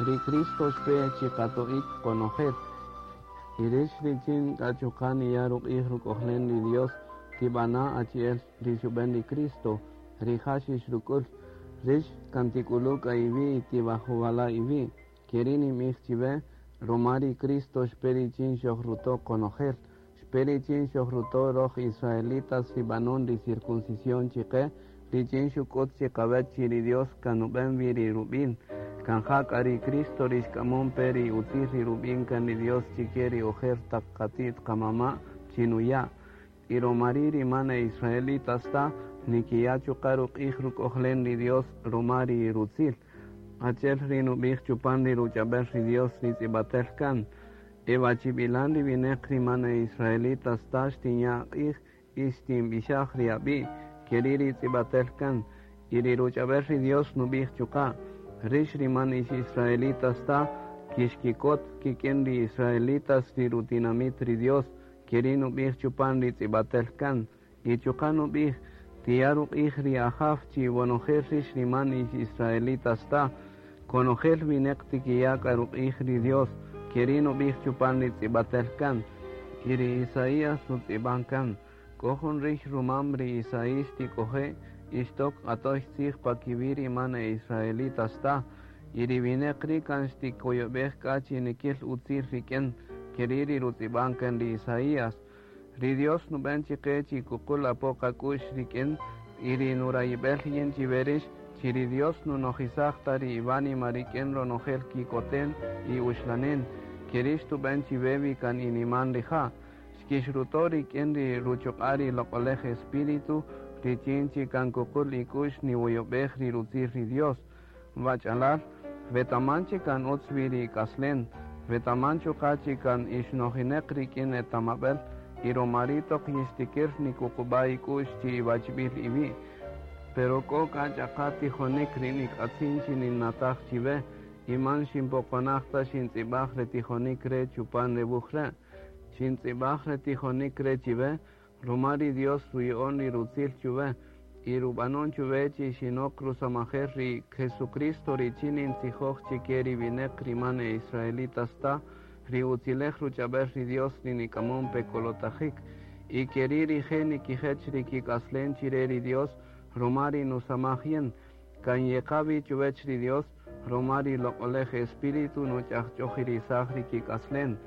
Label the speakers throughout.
Speaker 1: Ri Cristo xpe chiqato'ik qonojel. Y rix richin k'a chuqa' niya' ruq'ij ruk'ojlen ri Dios, tib'ana' achi'el ri xub'en ri Cristo, rija' xixruk'ul. Rix kan tik'ulu' k'a iwi' y tibajowala' iwi'. Keri' ninb'ij chiwe, ruma ri Cristo xpe richin xojruto' qonojel. Xpe richin xojruto' roj israelitas ri b'anon ri circuncisión chiqe, richin xuk'ut chiqawech chi ri Dios kan nub'en wi ri rub'in. Kan ja k'a ri Cristo ri xk'amon pe ri utzil ri rub'in kan ri Dios chike ri ojer taq qati't qamama' chi nuya'. Y ruma ri' ri man e israelitas ta, nikiya' chuqa' ruq'ij ruk'ojlen ri Dios ruma ri rutzil. Achi'el ri nub'ij chupan ri ruch'ab'el ri Dios ri tz'ib'atel kan. E wachib'ilan ri wineq ri man e israelitas ta xtinya' q'ij y xtinb'ixaj ri ab'i', keri' ri tz'ib'atel kan. Y ri ruch'ab'el ri Dios nub'ij chuqa', rix ri man ix israelitas ta, kixkikot kik'in ri israelitas ri rutinamit ri Dios, keri' nub'ij chupan ri tz'ib'atel kan. Y chuqa' nub'ij, tiya' ruq'ij ri Ajaw chi wonojel rix ri man ix israelitas ta, konojel wineq tikiya' k'a ruq'ij ri Dios, keri' nub'ij chupan ri tz'ib'atel kan. Y ri Isaías rutz'ib'an kan, k'o jun rix rumam ri Isaías tik'oje' ixtok q'atoy tzij pa kiwi' ri man e israelitas ta. Y ri wineq ri' kan xtikoyob'ej k'a chi nikil utzil rik'in, keri' ri rutz'ib'an kan ri Isaías. Ri Dios nub'en chiqe chi kuqul apo qak'u'x rik'in y ri nurayib'el yin chiwe rix, chi ri Dios nunojisaj ta ri iwánima rik'in ronojel kikoten y uxlanen, keri' xtub'en chiwe wi kan iniman rija'. Xkixruto' rik'in ri ruchuq'a' ri Loq'olej Espíritu, richin chi kan kuqul ik'u'x niwoyob'ej ri rutzil ri Dios. Wach'alal, wetaman chi kan utz wi ri ik'aslen, wetaman chuqa' chi kan ixnojineq rik'in etamab'el y ruma ri' toq yixtikir nikuqub'a' ik'u'x chi iwachb'il iwi'. Pero k'o k'a ch'aqa tijonik ri nik'atzin chi ninnataj chiwe, y man xinpoqonaj ta xintz'ib'aj re tijonik re' chupan re wuj re'. Xintz'ib'aj re tijonik re' chiwe, ruma ri Dios ruya'on ri rutzil chuwe, y rub'anon chuwe chi xinok rusamajel ri Jesucristo richin nintzijoj chike ri wineq ri man e israelitas ta, ri utzilej ruch'ab'el ri Dios ri nik'amon pe kolotajik. Y keri' rije' nikijech ri kik'aslen chire ri Dios, ruma ri nusamaj yin. Kan yeqa wi chuwech ri Dios, ruma ri Loq'olej Espíritu nuch'ajch'ojirisaj ri kik'aslen.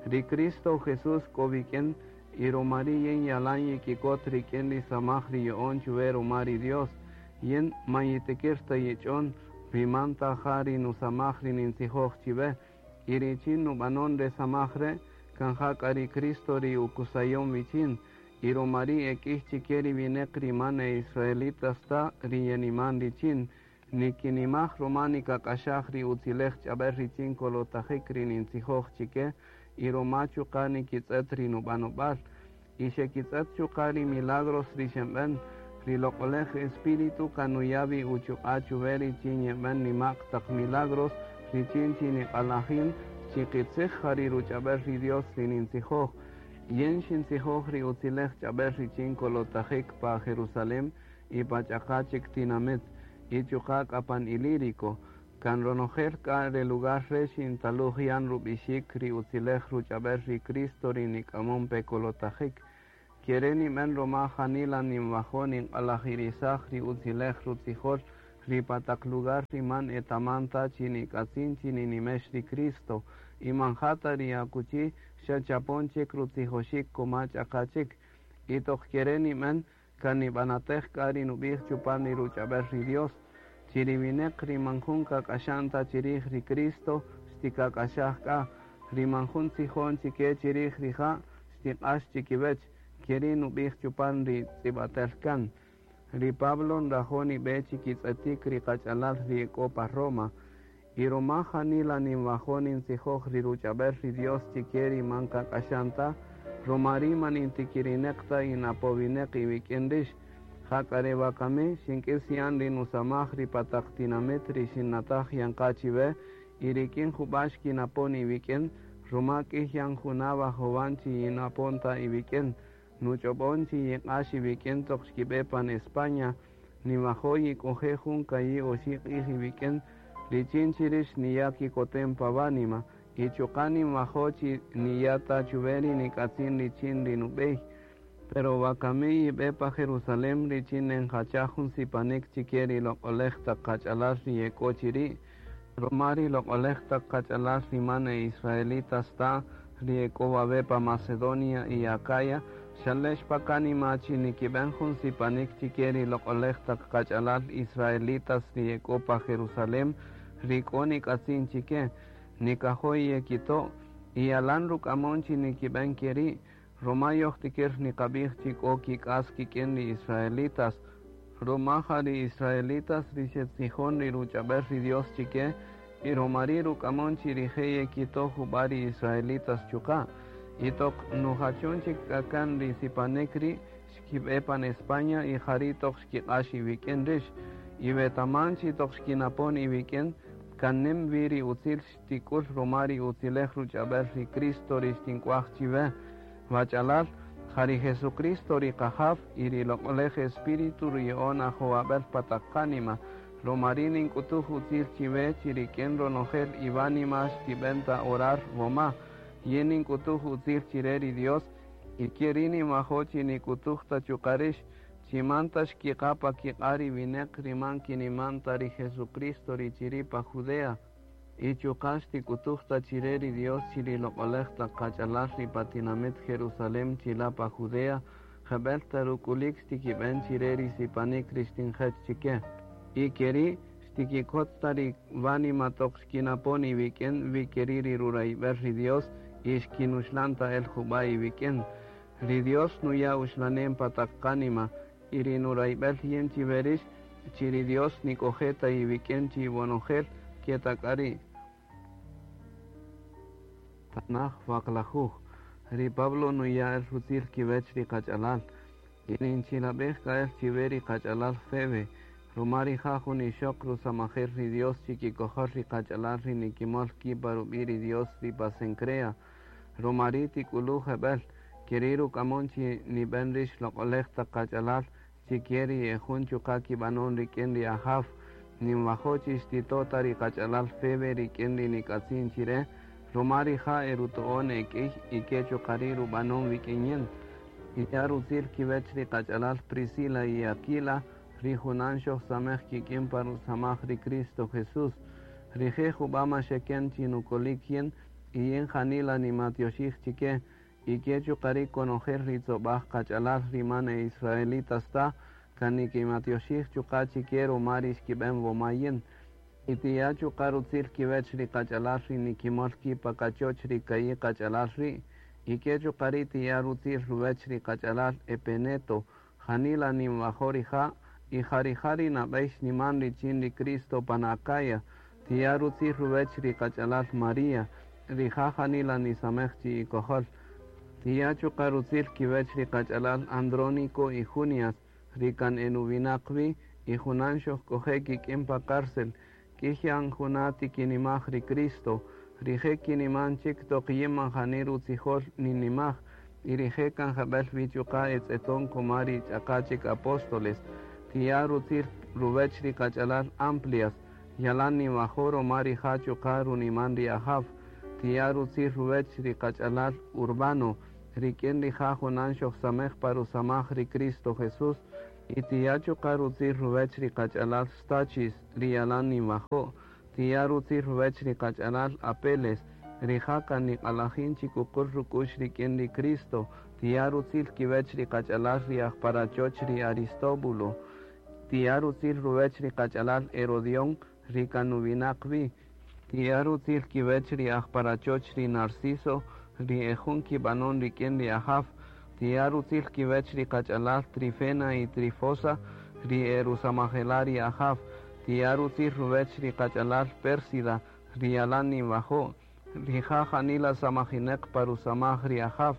Speaker 1: Ri Cristo Jesús k'o wik'in, y ruma ri' yin yalan yikikot rik'in ri samaj ri ya'on chuwe ruma ri Dios. Yin man yitikir ta yich'on, wi man ta ja ri nusamaj ri nintzijoj chiwe. Y richin nub'anon re samaj re', kan ja k'a ri Cristo ri ukusayon wichin. Y ruma ri' e k'ïy chike ri wineq ri man e israelitas ta ri yeniman richin. Nikinimaj ruma nikak'axaj ri utzilej ch'ab'el richin kolotajik ri nintzijoj chike, y ruma chuqa' nikitz'et ri nub'anob'al. Y xekitz'et chuqa' ri milagros ri xenb'en, ri Loq'olej Espíritu kan nuya' wi uchuq'a' chuwe richin yeb'en nima'q taq milagros richin chi niq'alajin chi qitzij ja ri ruch'ab'el ri Dios ri nintzijoj. Yin xintzijoj ri utzilej ch'ab'el richin kolotajik pa Jerusalem y pa ch'aqa chik tinamit, y chuqa' k'a pan Ilírico. Kan ronojel k'a re lugar re' xintaluj yan rub'ixik ri utzilej ruch'ab'el ri Cristo ri nik'amon pe kolotajik. Kere' nib'en ruma janila ninwajo' ninq'alajirisaj ri utzilej rutzijol ri pa taq lugar ri man etaman ta chi nik'atzin chi ninimex ri Cristo, y man ja ta ri akuchi xa chapon chik rutzijoxik kuma ch'aqa chik. Y toq kere' nib'en, kan nib'anatej k'a ri nub'ij chupan ri ruch'ab'el ri Dios, chi ri wineq ri man jun kak'axan ta chirij ri Cristo xtikak'axaj k'a, ri man jun tzijon chike chirij rija' xtiq'ax chikiwech, keri' nub'ij chupan ri tz'ib'atel kan. Ri Pablo nrajo' nib'e chikitz'etik ri qach'alal ri k'o pa Roma, y ruma janila ninwajo' nintzijoj ri ruch'ab'el ri Dios chike ri man kak'axan ta, ruma ri' man intikirineq ta inapowineq iwik'in rix. Ja k'a re wakami xink'is yan ri nusamaj ri pa taq tinamit ri xinnataj yan qa chiwe, y rik'in jub'a' xkinapon iwik'in, ruma k'ïy yan juna' wajowan chi yinapon ta iwik'in. Nuch'ob'on chi yiq'ax iwik'in toq xkib'e pan España, niwajo' yik'oje' jun ka'i' oxi' q'ij iwik'in, Richin chi rix niya' kikotem pa wánima, y chuqa' ninwajo' chi niya' ta chuwe ri nik'atzin richin ri nub'ey. Pero wakami yib'e pa Jerusalén richin nenjachaj jun sipanik chike ri loq'olej taq qach'alal ri ye k'o chiri'. Ruma ri loq'olej taq qach'alal ri man e israelitas ta, ri ye k'o wawe' pa Macedonia y Acaya, xalex pa kánima chi nikib'en jun sipanik chike ri loq'olej taq qach'alal israelitas ri ye k'o pa Jerusalén, ri k'o nik'atzin chike, nikajo' yekito', y yalan ruk'amon chi nikib'en keri', ruma yojtikir niqab'ij chi k'o kik'as kik'in ri israelitas, ruma ja ri israelitas ri xetzijon ri ruch'ab'el ri Dios chike, y ruma ri' ruk'amon chi rije' yekito' jub'a' ri israelitas chuqa'. Y toq nujachon chik k'a kan ri sipanik ri' xkib'e pan España y jari' toq xkiq'ax iwik'in rix. Y wetaman chi toq xkinapon iwik'in, kan nim wi ri utzil xtik'ul ruma ri utzilej ruch'ab'el ri Cristo ri xtink'uaj chiwe. Wach'alal, ja ri Jesucristo ri Qajaw y ri Loq'olej Espíritu ruya'on ajowab'el pa taq qánima. Ruma ri' nink'utuj utzil chiwe chi rik'in ronojel iwánima xtib'en ta orar woma. Yin nink'utuj utzil chire ri Dios, y ke ri' ninwajo' chi nik'utuj ta chuqa' rix, chi man ta xkiqa' pa kiq'a' ri wineq ri man kiniman ta ri Jesucristo ri chiri' pa Judea. Y chuqa' xtik'utuj ta chire ri Dios chi ri loq'olej taq qach'alal ri pa tinamit Jerusalén chila' pa Judea, jeb'el ta ruk'ulik xtikib'en chire ri sipanik ri xtinjech chike. Y keri' xtikikot ta ri wánima toq xkinapon iwik'in wi keri' ri rurayb'el ri Dios y xkinuxlan ta el jub'a' iwik'in. Ri Dios nuya' uxlanem pa taq qánima y ri nurayb'el yin chiwe rix chi ri Dios nik'oje' ta iwik'in chi iwonojel ke ta k'a ri'. Tanaj waqlajuj. Ri Pablo nuya' el rutzil kiwech ri qach'alal. Y ninchilab'ej k'a el chiwe ri qach'alal Febe, ruma rija' jun ixoq rusamajel ri Dios chikikojol ri qach'alal ri nikimol ki' pa rub'i' ri Dios ri pa Cencrea. Ruma ri' tik'ulu' jeb'el, keri' ruk'amon chi nib'en rix loq'olej taq qach'alal chike ri e jun chuqa' kib'anon rik'in ri Ajaw. Ninwajo' chi xtito' ta ri qach'alal Febe rik'in ri nik'atzin chire, ruma rija' eruto'on e k'iy y ke chuqa' ri' rub'anon wik'in yin. Tiya' rutzil kiwech ri qach'alal Priscila y Aquila, ri junan xojsamej kik'in pa rusamaj ri Cristo Jesús. Rije' jub'a' ma xeken chi nukolik yin, y yin janila nimatyoxij chike, y ke chuqa' ri' konojel ri tzob'aj qach'alal ri man e israelitas ta, kan nikimatyoxij chuqa' chike ruma ri xkib'en woma yin. Y tiya' chuqa' rutzil kiwech ri qach'alal ri nikimol ki' pa kachoch ri ka'i' qach'alal ri', y ke chuqa' ri' tiya' rutzil ruwech ri qach'alal Epeneto, janila ninwajo' rija', y ja rija' ri nab'ey xniman richin ri Cristo pan Acaya. Tiya' rutzil ruwech ri qach'alal María, rija' janila nisamej chi ikojol. Tiya' chuqa' rutzil kiwech ri qach'alal Andrónico y Junias, ri kan e nuwinaq wi, y junan xojk'oje' kik'in pa cárcel. K'iy yan juna' tikinimaj ri Cristo, rije' kiniman chik toq yin man jani rutzijol ninimaj, y rije' kan jeb'el wi chuqa' etz'eton kuma ri ch'aqa' chik apóstoles. Tiya' rutzil ruwech ri qach'alal Amplias, yalan ninwajo' ruma rija' chuqa' runiman ri Ajaw. Tiya' rutzil ruwech ri qach'alal Urbano, rik'in rija' junan xojsamej pa rusamaj ri Cristo Jesús, y tiya' chuqa' rutzil ruwech ri qach'alal Stachis, ri yalan ninwajo'. Tiya' rutzil ruwech ri qach'alal Apeles, rija' kan niq'alajin chi kuqul ruk'u'x rik'in ri Cristo. Tiya' rutzil kiwech ri qach'alal ri aj pa rachoch ri Aristóbulo. Tiya' rutzil ruwech ri qach'alal Herodión, ri kan nuwinaq wi. Tiya' rutzil kiwech ri aj pa rachoch ri Narciso, ri e jun kib'anon rik'in ri Ajaw. Tiya' rutzil kiwech ri qach'alal Trifena y Trifosa, ri e rusamajela' ri Ajaw. Tiya' rutzil ruwech ri qach'alal Pérsida, ri yalan ninwajo'. Rija' janila samajineq pa rusamaj ri Ajaw.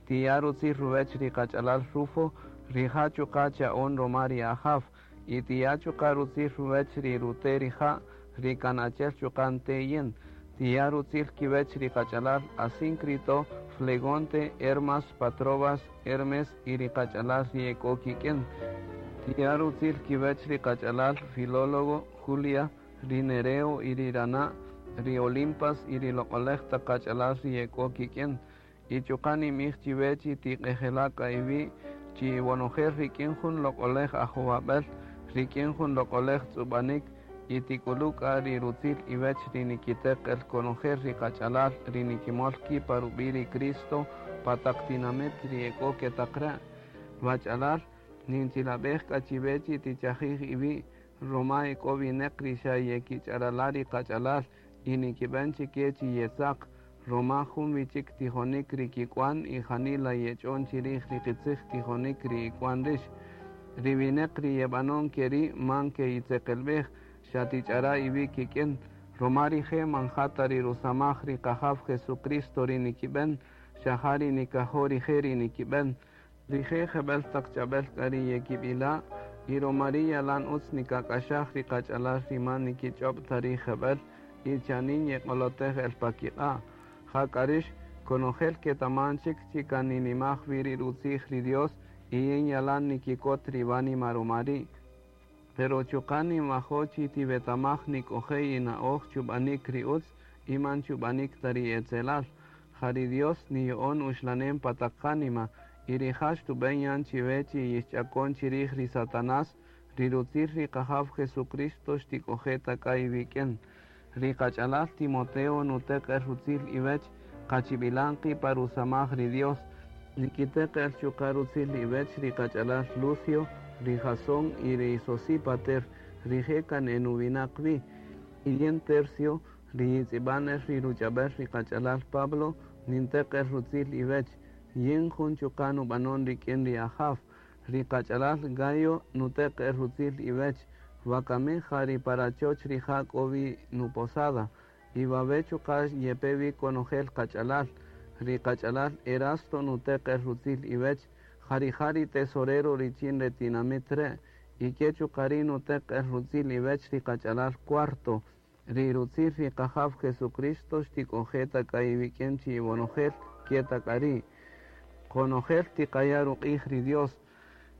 Speaker 1: Tiya' rutzil ruwech ri qach'alal Rufo, rija' chuqa' cha'on ruma ri Ajaw. Y tiya' chuqa' rutzil ruwech ri rute' rija', ri kan achi'el chuqa' nte' yin. Tiya' rutzil kiwech ri qach'alal Asíncrito, Flegonte, Hermas, Patrobas, Hermes y ri qach'alal ri e k'o kik'in. Tiya' rutzil kiwech ri qach'alal Filólogo, Julia, ri Nereo y ri rana', ri Olimpas y ri loq'olej taq qach'alal ri ye k'o kik'in. Y chuqa' ninb'ij chiwe chi tiq'ejela' k'a iwi' chi iwonojel rik'in jun loq'olej ajowab'äl, rik'in jun loq'olej tz'ub'anik y tik'ulu' k'a ri rutzil iwech ri nikiteq el konojel ri qach'alal ri nikimol ki' pa rub'i' ri Cristo pa taq tinamit ri e k'o ke taq re'. Wach'alal, ninchilab'ej k'a chiwe chi tichajij iwi' ruma e k'o wineq ri xa yekich'arala' ri qach'alal y nikib'än chike chi yetzaq, ruma jun wi chik tijonik ri kik'wan y janila yech'on chirij ri qitzij tijonik ri ik'wan rix. Ri wineq ri yeb'anon ke ri' man ke'itzeqelb'ej, xa tich'ara' iwi' kik'in, ruma rije' man ja ta ri rusamaj ri Qajaw Jesucristo ri nikib'än, xa ja ri nikajo' rije' ri nikib'än. Rije' jeb'ël taq ch'ab'äl k'a ri yekib'ila', y ruma ri' yalan utz nikak'axaj ri qach'alal ri man nikich'öb' ta ri jeb'ël y chanin yeq'olotej el pa kiq'a'. Ja k'a rïx, konojel ketaman chik chi kan ninimaj wi ri rutzij ri Dios y yin yalan nikikot ri wánima ruma ri'. Pero chuqa' ninwajo' chi tiwetamaj nik'oje' ina'oj chub'anik ri utz y man chub'anik ta ri etzelal. Ja ri Dios niya'on uxlanem pa taq qánima y rija' xtub'än yan chiwe chi yixch'akon chirij ri Satanás, ri rutzil ri Qajaw Jesucristo xtik'oje' ta k'a iwik'in. Ri qach'alal Timoteo nuteq el rutzil iwech qachib'ilan qi' pa rusamaj ri Dios. Nikiteq el chuqa' rutzil iwech ri qach'alal Lucio, ri Jasón y ri Sosípater, rije' kan e nuwinaq wi. Y yin Tercio, ri yitz'ib'an el ri ruch'ab'äl ri qach'alal Pablo, ninteq el rutzil iwech. Yin jun chuqa' nub'anon rik'in ri Ajaw. Ri qach'alal Gayo nuteq el rutzil iwech. Wakami ja ri pa rachoch rija' k'o wi nuposada. Y wawe' chuqa' yepe wi konojel qach'alal. Ri qach'alal Erasto nuteq el rutzil iwech, ja rija' ri tesorero richin re tinamit re'. Y ke chuqa' ri' nuteq el rutzil iwech ri qach'alal Cuarto. Ri rutzil ri Qajaw Jesucristo xtik'oje' ta k'a iwik'in chi iwonojel ke ta k'a ri'. Qonojel tiqaya' ruq'ij ri Dios.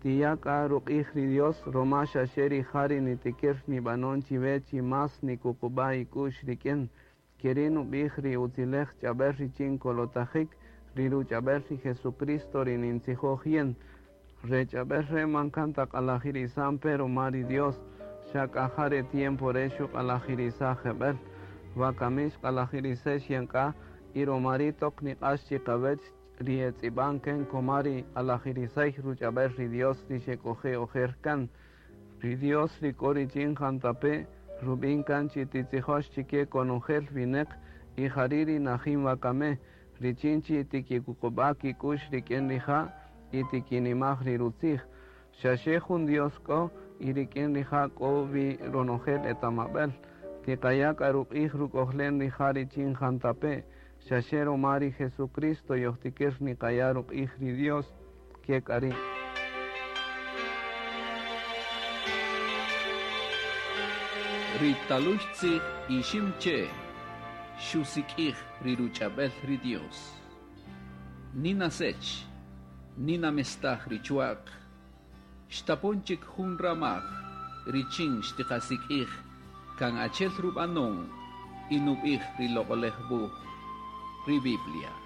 Speaker 1: Tiya' k'a ruq'ij ri Dios ruma xa xe rija' ri nitikir nib'anon chiwe chi más nikuqub'a' ik'u'x rik'in. Ke ri' nub'ij ri utzilej ch'ab'äl richin kolotajik, ri ruch'ab'äl ri Jesucristo ri nintzijoj yin. Re ch'ab'äl re' man kan ta q'alajirisan pe ruma ri Dios, xa k'a ja re tiempo re' xuq'alajirisaj jeb'ël. Wakami xq'alajirisex yan k'a y ruma ri' toq niq'ax chiqawech ri etz'ib'an kan koma ri q'alajirisay ruch'ab'äl ri Dios ri xek'oje' ojer kan. Ri Dios ri k'o richin jantape' rub'in kan chi titzijox chike konojel wineq y jari' ri najin wakame, richin chi tikikuqub'a' kik'u'x rik'in rija' y tikinimaj ri rutzij. Xa xe jun Dios k'o y rik'in rija' k'o wi ronojel etamab'äl. Tiqaya' k'a ruq'ij ruk'ojlen rija' richin jantape', xa xe ruma ri Jesucristo yojtikir niqaya' ruq'ij ri Dios ke k'a ri'.
Speaker 2: Ri talux tzij Iximche xusik'ij ri ruch'ab'äl ri Dios. Nina sech, nina mestaj ri chwa'q, xtapon chik jun ramaj richin xtiqasik'ij kan achel rub'anon y nub'ij ri loq'olej wuj, ri Biblia.